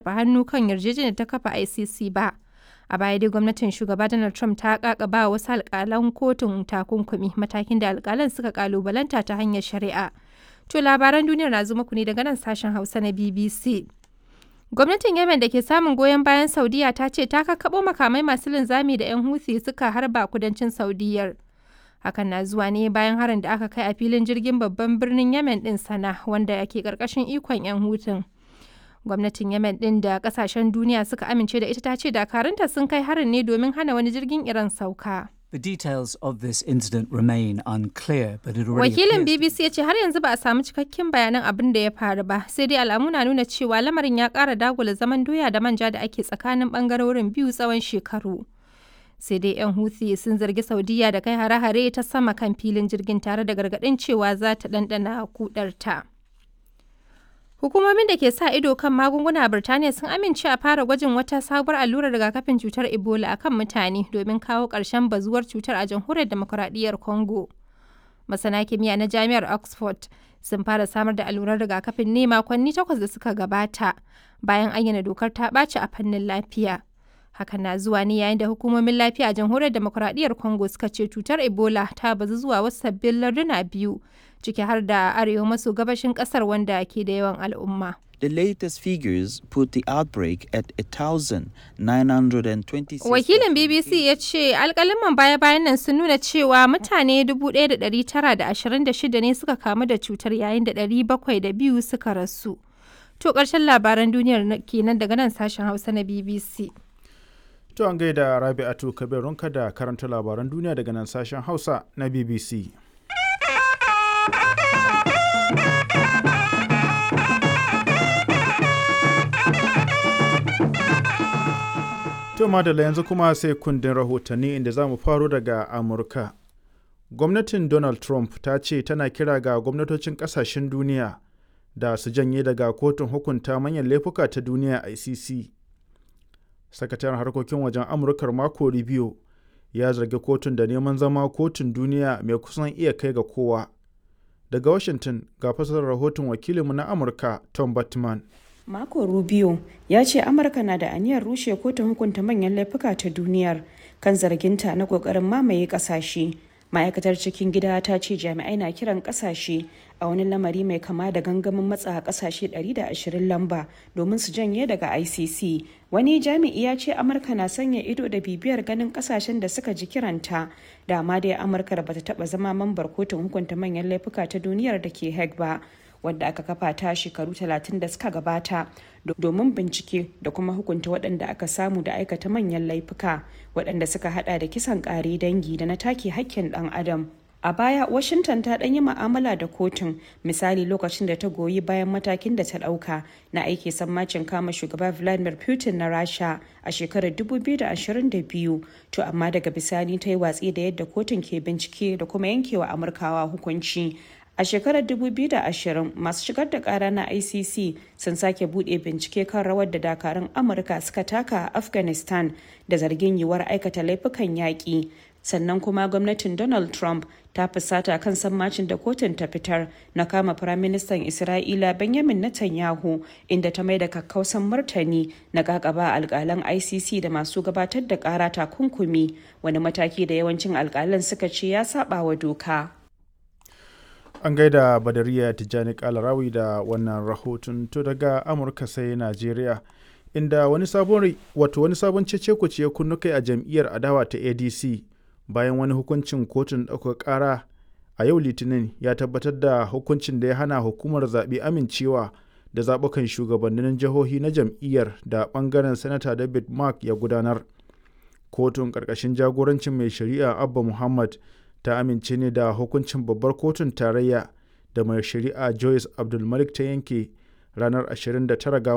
rattaba hannu kan yarjejeniyar ta kafa ICC ba. A baya dai gwamnatin shugaba Donald Trump ta kakaba wasu alkalan kotun takunkumi matakin da alkalan suka kalubalanta ta hanyar shari'a. To labaran duniyar na zo muku ne daga nan sashen Hausa na BBC. Gwamnatin Yemen da ke samun goyon bayan Saudiya ta ce ta kakkaɓo makamai masu linzami da 'yan Houthi suka harba kudancin Saudiyyar. Hakan na zuwa ne bayan harin da aka kai a filin jirgin babban birnin Yemen din Sana wanda ke karkashin ikon 'yan Hutun. Gwamnatin Yemen din da kasashen duniya suka amince da ita ta ce dakarunta sun kai harin ne domin hana wani jirgin Iran sauka. The details of this incident remain unclear, but it already Wakilin appears BBC ya ce har yanzu ba a samu cikakken bayanan abin da ya faru ba, sai dai alamu na nuna cewa lamarin ya ƙara dagula zaman doya da manja da ake tsakanin bangarorin biyu tsawon shekaru. Sai dai 'yan Houthi sun zargi Saudiya da kai hare-hare ta sama kan filin jirgin tare da gargaɗin cewa za ta ɗanɗana kudarta. Hukumomin da ke sa ido kan magunguna a Birtaniya sun amince a fara gwajin wata sabuwar allurar rigakafin cutar Ebola a kan mutane domin kawo ƙarshen bazuwar cutar a jamhuriyar demokuraɗiyyar Congo. Masana kimiyya na Jami'ar Oxford sun fara samar da allurar rigakafin ne makonni 8 da suka gabata bayan ayyana dokar ta ɓaci a fannin lafiya. Hakan na zuwa ne yayin da hukumomin lafiya a jamhuriyar demokuraɗiyyar Congo suka ce cutar Ebola ta bazu zuwa wasu sabbin larduna biyu ciki har da arewa maso gabashin ƙasar wanda ke da yawan al'umma. The latest figures put the outbreak at 1,926. Wakilin BBC ya ce alkaliman baya-bayan nan sun nuna cewa mutane 1,926 ne suka kamu da cutar yayin da 702 suka rasu. To ƙarshen labaran duniyar kenan daga nan sashen Hausa na BBC. To an gaida Rabi'atu Kabir Runka da karanta labaran duniya daga nan sashen Hausa na BBC. To madalla yanzu kuma sai kundin rahotanni inda za mu faro daga Amurka. Gwamnatin Donald Trump ta ce tana kira ga gwamnatocin kasashen duniya da su janye daga kotun hukunta manyan laifuka ta duniya ICC. Sakataren harkokin wajen Amurkar Marco Rubio ya zargi kotun da neman zama kotun duniya mai kusan iya kai ga kowa. Daga Washington ga fasarar rahoton wakilinmu na Amurka Tom Batman. Marco Rubio ya ce Amurka na da aniyar rushe kotun hukunta manyan laifuka ta duniyar kan zarginta na kokarin mamaye kasashe. Ma'aikatar cikin gida ta ce jami'ai na kiran kasashe a wani lamari mai kama da gangamin matsa kasashe 120 lamba domin su janye daga ICC. Wani jami'i ya ce Amurka na sanya ido da bibiyar ganin kasashen da suka ji kiranta. Dama dai Amurka bata taba zama mambar kotun hukunta manyan laifuka ta duniyar da ke Hague ba. Wadda aka kafa ta shekaru 30 da suka gabata domin bincike da kuma hukunta waɗanda aka samu da aikata manyan laifuka waɗanda suka hada da kisan ƙare dangi da na take hakkin ɗan adam. A baya, Washington ta ɗan yi ma'amala da kotun, misali lokacin da ta goyi bayan matakin da ta ɗauka na aiki sammacin kama shugaba Vladimir Putin na Rasha a shekarar 2022, to amma daga bisani ta yi watsi da yadda kotun ke bincike da kuma yankewa Amurkawa hukunci. A shekarar 2020, masu shigar da kara na ICC sun sake bude bincike kan rawar da dakarun Amurka suka taka a Afghanistan da zargin yiwuwar aikata laifukan yaƙi. Sannan kuma gwamnatin Donald Trump ta fusata kan sammacin da kotun ta fitar na kama Firaministan Isra'ila Benjamin Netanyahu, inda ta maida kakkausan martani na kakaba alkalan ICC da masu gabatar da kara takunkumi, wani mataki da yawancin alkalan suka ce ya saba wa doka. An gaida Badariya Tijjani Kalarawi da wannan rahoton. To daga Amurka sai Najeriya, inda wani sabon wato wani sabon cece ya kunnu kai a jam'iyyar adawa ta ADC bayan wani hukuncin kotun ɗaukar ƙara a yau Litinin ya tabbatar da hukuncin da ya hana hukumar zaɓe amincewa da zaɓukan shugabannin jihohi na jam'iyyar da ɓangaren Sanata David Mark ya gudanar. Kotun ƙarƙashin jagorancin mai shari'a Abba Muhammad ta amince ne da hukuncin babbar kotun tarayya da mai shari'a Joyce Abdulmalik ta yanke ranar 29 ga